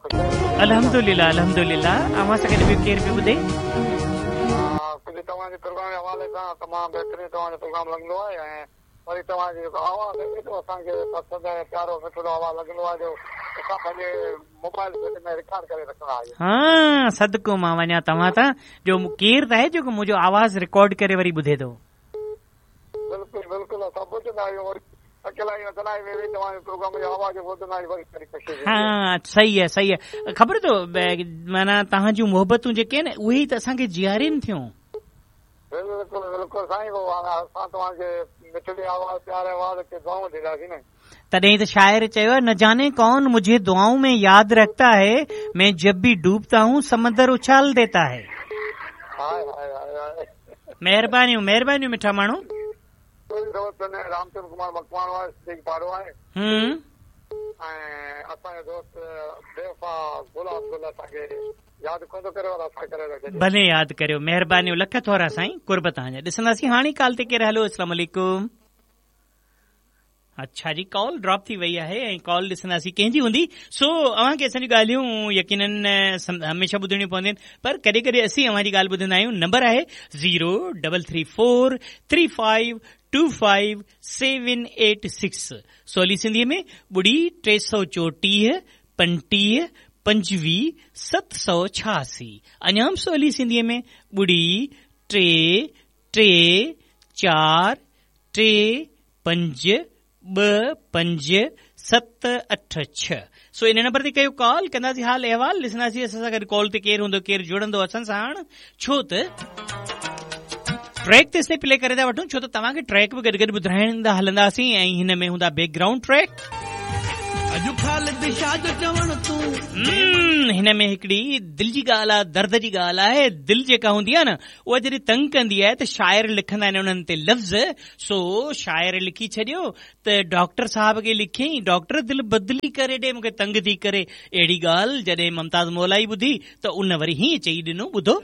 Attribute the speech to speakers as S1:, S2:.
S1: خوش آهيو؟
S2: الحمدلله الحمدلله اوهان سان گڏ ٻيو ڪير پيو ٻڌي؟
S1: ها ڪجهه توهان جي پروگرام جي حوالي سان تمام بهترين توهان جو پروگرام لڳندو آهي ۽ وري توهان جو جيڪو آواز آهي ايڏو اسان کي پسند ۽ پيارو مٺڙو آواز لڳندو آهي جو اسان پنهنجي موبائل سيٽ ۾ رڪارڊ ڪري رکندا آهيون.
S2: ها صدقو مان وڃان توهان تان جو ڪير ته آهي جيڪو منهنجو آواز رڪارڊ ڪري وري ٻڌي ٿو.
S1: بلڪل بلڪل اسان ٻڌندا آهيون وري اڪيلائي ۾ تنهائي ۾ ويهي توهان جي پروگرام جو آواز ٻڌندا آهيون وري ڏاڍي خوشي ٿيندي آهي.
S2: ها صحيح آهي صحيح آهي خبر اٿو معنيٰ توهان جون محبتون جيڪي آهن اهي ئي ته اسان کي جيارين ٿيون.
S1: بلڪل بلڪل سائين پوء اسان توهان کي مٺڙي آواز پياري آواز کي دعائون ڏينداسين نه.
S2: تڏهن ئي ته شاعر چيو آهي نه جاني ڪون مجهي دعائون ۾ ياد رکتا هي مين جب ڀي ڊوبتا هون سمندر اڇال ديتا هي.
S1: هاء هاء هاء هاء.
S2: مهربانيون مهربانيون مٺا ماڻهو.
S1: منهنجو دوست رامچند ڪمار مڪواڻو آهي صديق پاڙو آهي.
S2: هم.
S1: ۽ اسان جو دوست بيوفا گلاب گل اسان کي ياد ڪونه ٿو ڪري پر اسان ڪري ٿا ڇڏيون.
S2: ڀلي ياد ڪريو مهربانيون لک ٿورا سائين قرب توهان جا ڏسنداسين هاڻي ڪال تي ڪير هلو اسلام عليڪم. اڇا جي ڪال ڊراپ ٿي وئي آهي ۽ ڪال ڏسنداسين ڪنهن جي هوندي سو اوهان کي اسان جون ڳالهيون يقينن هميشه ٻڌڻيون پونديون آهن پر ڪڏهن ڪڏهن اسين اوهان جي ڳالهه ٻڌندا آهيون نمبر آهي zero double three four three five two five seven eight six سولي سنڌيء ۾ ٻڙي 334 35 25 786 اڃا به سولي سنڌيء ۾ ٻڙي ٽي ٽي چار ٽي پنج ٻه پنج ست اٺ ڇهه سو ان نمبر تي ڪيو ڪال ڪنداسين حال احوال ڏسنداسين اسان سان گڏ ڪال تي ڪير هوندو ڪير جڙندو اسان سان هاڻ ڇو ته ٽريڪ تيستائين پلي ڪري ٿا وٺون ڇو ته توهان کي ٽريڪ به گڏ گڏ ٻڌرائيندا هلنداسين ۽ هن ۾ هوندا بيڪ گرائونڊ ٽريڪ
S3: اڄ خالد شاهه جو چوڻ تون
S2: هن ۾ هڪڙي دل جي ڳالهه آ درد جي ڳالهه آهي دل جيڪا هوندي آ نه اها جڏهن تنگ ڪندي آهي ته شاعر لکندا آهن انهن تي لفظ، سو شاعر لکي ڇڏيو ته ڊاڪٽر صاحب کي لکيائين، ڊاڪٽر دل بدلي ڪري ڏي مون کي تنگ ٿي ڪري. اهڙي ڳالهه جڏهن ممتاز مولائي ٻڌي ته ان وري هيئن چئي ڏنو، ٻڌو.